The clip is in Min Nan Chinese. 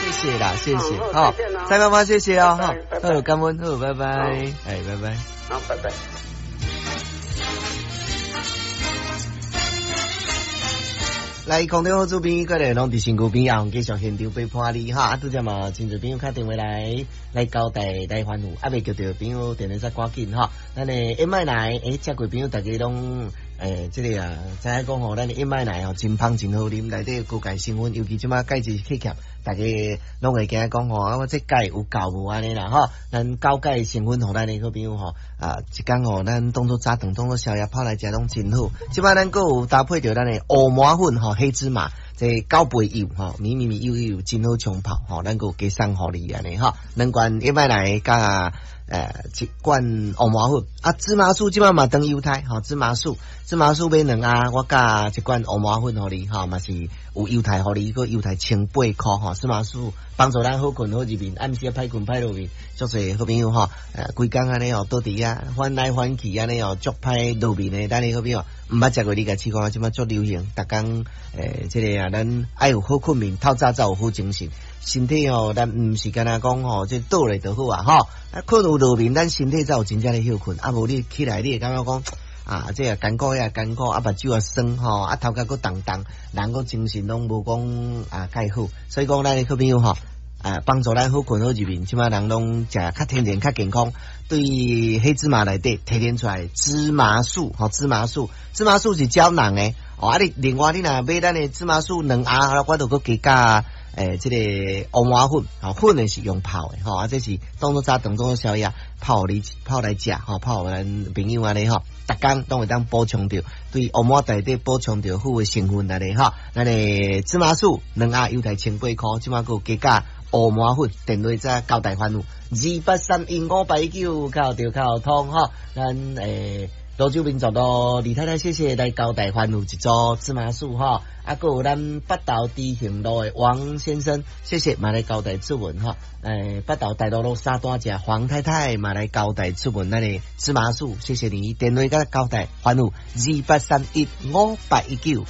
謝謝啦，謝謝，好，蔡媽媽謝謝哦，好，感恩，好，拜拜，哎，拜拜，好，拜拜。來，空中好主編，過來攏佇身軀邊啊，繼續現場陪伴你哈。啊，拄才嘛，真濟朋友敲電話來來交代來煩惱，啊，未叫著朋友電話煞趕緊哈。咱的燕麥奶，食過朋友大家攏這個啊，知影講吼，咱的燕麥奶吼真芳真好啉，內底高鈣成分，尤其這馬鈣質缺欠，大家攏會驚講吼，啊，我這鈣有夠無按呢啦吼。咱高鈣成分，予咱的好朋友吼，啊，一工吼，咱當做早頓，當做宵夜泡來食攏真好。這擺咱閣有搭配著咱的烏麻粉吼。黑芝麻，這高倍油吼，米米米油油真好沖泡吼，咱閣有加送予你按呢吼，兩罐燕麥奶佮一罐烏麻粉啊，芝麻酥這擺嘛當猶太吼，芝麻酥，芝麻酥買兩盒，我佮一罐烏麻粉予你吼，嘛是有猶太予你，閣猶太1008箍吼，芝麻酥幫助咱好睏好入眠，暗時啊歹睏歹落眠，足濟好朋友吼，規工按呢哦，倒佇遐翻來翻去按呢哦，足歹落眠的，咱的好朋友毋捌食過，你共試看，這擺足流行，逐工這個啊，咱愛有好睏眠，透早才有好精神。身體吼，咱毋是干焦講吼，這倒咧就好啊，吼。啊，睏有落眠，咱身體才有真正咧歇睏。啊，無你起來，你會感覺講啊，這個艱苦遐艱苦，啊，目睭也酸吼，啊，頭殼閣重重，人閣精神攏無講啊蓋好。所以講，咱的好朋友吼，啊，幫助咱好睏好入眠，這擺人攏食較天然、較健康。對黑芝麻內底提煉出來芝麻素，吼，芝麻素，芝麻素是膠囊的。哦，啊，你另外你若買咱的芝麻素兩盒，我就閣加佮這個烏麻粉，吼，粉的是用泡的，吼，啊，這是當做早頓當做宵夜泡你泡來食，吼，泡予咱朋友按呢吼，逐工攏會當補充著，對烏麻內底補充著好的成分來咧吼。咱的芝麻素兩盒猶太1008箍，這擺閣有加佮烏麻粉，電話再交代煩惱，28315819，敲著敲通吼，咱蘆洲民族路李太太，謝謝來交代煩惱一組芝麻酥吼，啊，閣有咱北投知行路的王先生，謝謝嘛來交代出門吼，北投大路路三段食黃太太嘛來交代出門咱的芝麻酥，謝謝你電話佮交代煩惱28315819。